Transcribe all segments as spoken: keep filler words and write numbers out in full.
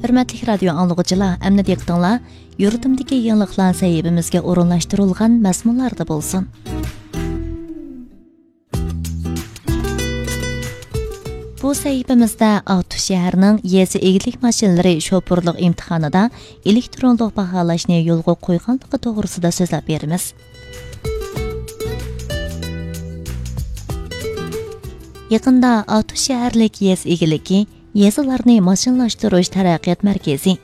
ھۆرمەتلىك رادىيو ئاڭلىغۇچىلار، ئەمدى دىققىتىڭلار يۇرتۇمدىكى يېڭىلىقلار سەھىپىمىزگە ئورۇنلاشتۇرۇلغان مەزمۇنلاردا بولسۇن. بۇ سەھىپىمىزدە ئاقتۇش شەھىرىنىڭ يېزا ئىگىلىك ماشىنىلىرى شوپۇرلۇق ئىمتىھانىدا ئېلېكترونلۇق باھالاشنى يولغا قويغانلىقى توغرىسىدا سۆزلەپ بېرىمىز. يېقىندا ئاتۇش شەھەرلىك يېزا ئىگىلىكى يېزىلارنى ماشىنىلاشتۇرۇش تەرەققىيات مەركىزى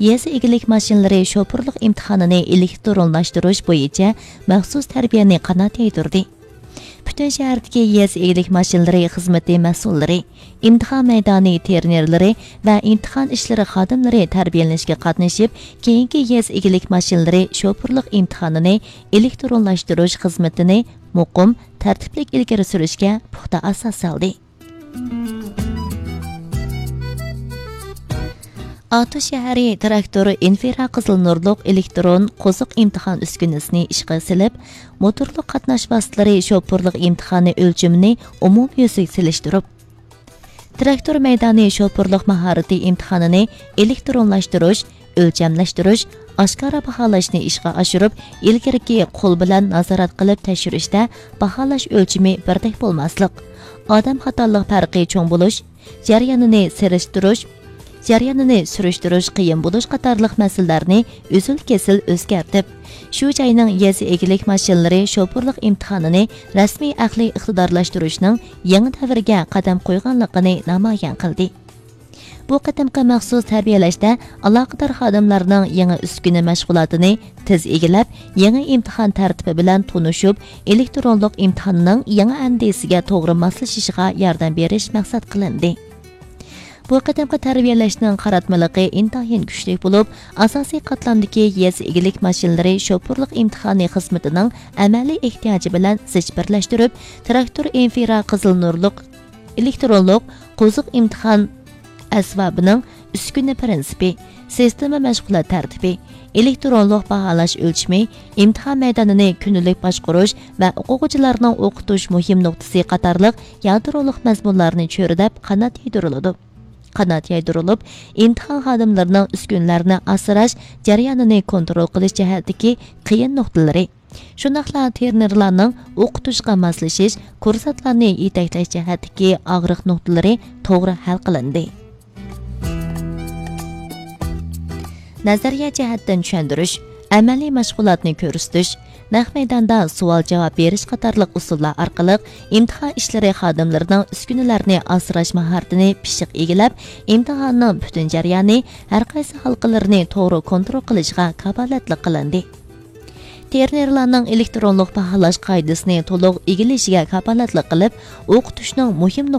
يېزا ئىگىلىك ماشىنىلىرى شوپۇرلۇق ئىمتىھانىنى ئېلېكترونلاشتۇرۇش بويىچە مەخسۇس تەربىيەنى قانات يايدۇردى. پۈتۈن شەھەردىكى يېزا ئىگىلىك ماشىنىلىرى خىزمىتى مەسئۇللىرى، ئىمتىھان مەيدانى تېرېنېرلىرى ۋە ئىمتىھان ئىشلىرى خادىملىرى تەربىيەلىنىشكە قاتنىشىپ، كېيىنكى يېزا ئىگىلىك ماشىنىلىرى شوپۇرلۇق ئىمتىھانىنى ئېلېكترونلاشتۇرۇش خىزمىتىنى مۇقىم، تەرتىپلىك ئىلگىرى سۈرۈشكە پۇختا ئاساس سالدى. ئاتۇش شەھىرى تىراكتور ئىنفرا قىزىل نۇرلۇق ئېلېكترون قوزۇق ئىمتىھان ئۈسكۈنىسىنى ئىشقا سېلىپ، موتورلۇق قاتناش ۋاسىتىلىرى شوپۇرلۇق ئىمتىھانى ئۆلچىمىنى ئومۇميۈزلۈك سېلىشتۇرۇپ، تىراكتور مەيدانى شوپۇرلۇق ماھارىتى ئىمتىھانىنى ئېلېكترونلاشتۇرۇش، ئۆلچەملەشتۈرۈش، ئاشكارا باھالاشنى ئىشقا ئاشۇرۇپ، ئىلگىرىكى قول بىلەن نازارەت قىلىپ تەكشۈرۈشتە باھالاش ئۆلچىمى بىردەك بولماسلىق، ئادەم خاتالىق پەرقى چوڭ بولۇش، جەريانىنى سىرىشتۇرۇش، جەريانىنى سۈرۈشتۈرۈش قىيىن بولۇش قاتارلىق مەسىلىلەرنى ئۈزۈل-كېسىل ئۆزگەرتىپ، شۇ جاينىڭ يېزا ئىگىلىك ماشىنىلىرى شوپۇرلۇق ئىمتىھانىنى رەسمىي ئەقلىي ئىقتىدارلاشتۇرۇشنىڭ يېڭى دەۋرگە قەدەم قويغانلىقىنى نامايان قىلدى. بۇ قېتىمقى مەخسۇس تەربىيەلەشتە ئالاقىدار خادىملارنىڭ يېڭى ئۈسكۈنە مەشغۇلاتىنى تېز ئىگىلەپ، يېڭى ئىمتىھان تەرتىپى بىلەن تونۇشۇپ، ئېلېكترونلۇق ئىمتىھاننىڭ يېڭى ئەندىزىسىگە توغرا ماسلىشىشىغا ياردەم بېرىش مەقسەت قىلىندى. بۇ قېتىمقى تەربىيەلەشنىڭ قاراتمىلىقى ئىنتايىن كۈچلۈك بولۇپ، ئاساسىي قاتلامدىكى يېزا ئىگىلىك ماشىنىلىرى شوپۇرلۇق ئىمتىھانى خىزمىتىنىڭ ئەمەلىي ئېھتىياجى بىلەن زىچ بىرلەشتۈرۈپ، تىراكتور ئىنفرا قىزىل نۇرلۇق ئېلېكترونلۇق قوزۇق ئىمتىھان ئەسۋابىنىڭ ئۈسكۈنە پىرىنسىپى، سىستېما مەشغۇلات تەرتىپى، ئېلېكترونلۇق باھالاش ئۆلچىمى، ئىمتىھان مەيدانىنى كۈندىلىك باشقۇرۇش ۋە ئوقۇغۇچىلارنىڭ ئوقۇتۇش مۇھىم نۇقتىسى قاتارلىق يادرولۇق مەزمۇنلارنى چۆرىدەپ قانات يايدۇرۇلىدۇ. قانات يايدۇرۇلۇپ، ئىمتىھان خادىملىرىنىڭ ئۈسكۈنىلەرنى ئاسراش جەريانىنى كونترول قىلىش جەھەتتىكى قىيىن نۇقتىلىرى، شۇنداقلا تېرېنېرلارنىڭ ئوقۇتۇشقا ماسلىشىش، كۇرسانتلارنى يېتەكلەش جەھەتتىكى ئاغرىق نۇقتىلىرى توغرا ھەل قىلىندى. نەزەرىيە جەھەتتىن چۈشەندۈرۈش، ئەمەلىي مەشغۇلاتنى كۆرسىتىش، نەق مەيداندا سوئال-جاۋاب بېرىش قاتارلىق ئۇسۇللار ئارقىلىق ئىمتىھان ئىشلىرى خادىملىرىنىڭ ئۈسكۈنىلەرنى ئاسراش ماھارىتىنى پىششىق ئىگىلەپ، ئىمتىھاننىڭ پۈتۈن جەريانى، ھەرقايسى ھالقىلىرىنى توغرا كونترول قىلىشىغا كاپالەتلىك قىلىندى. تېرېنېرلارنىڭ ئېلېكترونلۇق باھالاش قائىدىسىنى تولۇق ئىگىلىشىگە كاپالەتلىك قىلىپ، ئوقۇتۇشنىڭ مۇھىم